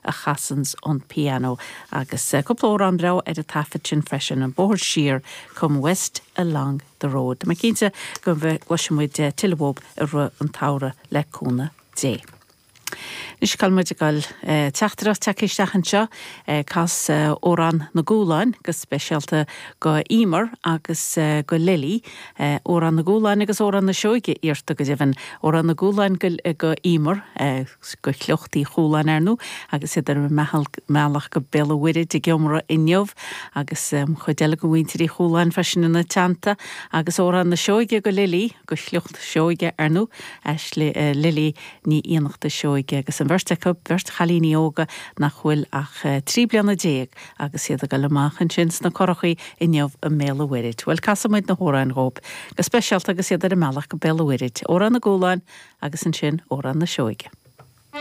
a chasanns an pianó. Agus cúpla amhrán breá ar an taifead sin freisin, An Bóthar Siar, Come West Along the Road. Tá mé cinnte go gcloisfidh muid tuilleadh uathub i rith an tsamhraidh le cúnamh Dé. Anois cá bhfuil muid ag dul? Teachtaireacht tagtha isteach anseo, cas Amhrán na gCúlán go speisialta go Emer agus go Lily. Amhrán na gCúlán agus Amhrán na Seoige iarrta go deimhin. Amhrán na gCúlán go Emer, go shliocht Uí Chúláin ar ndóigh, agus iad ar a mbealach go Béal an Mhuirthid ag iomramh inniu agus cuid eile de mhuintir Uí Chúláin freisin ina teannta. Agus Amhrán na Seoige go Lily, go shliocht Seoige ar ndóigh, Ashley, Lily Ní Fhiannachta Seoige agus an bheirt acu, beirt chailíní óga nach bhfuil ach 13 bliana agus iad ag dul amach ansin sna curachaí inniu i mBéal an Mhuirthid. Bhuel, casfaidh muid na hamhráin dhóibh, go speisialta agus iad ar a mbealach go Béal an Mhuirthid, Amhrán na gCúlán agus ansin Amhrán na Seoige.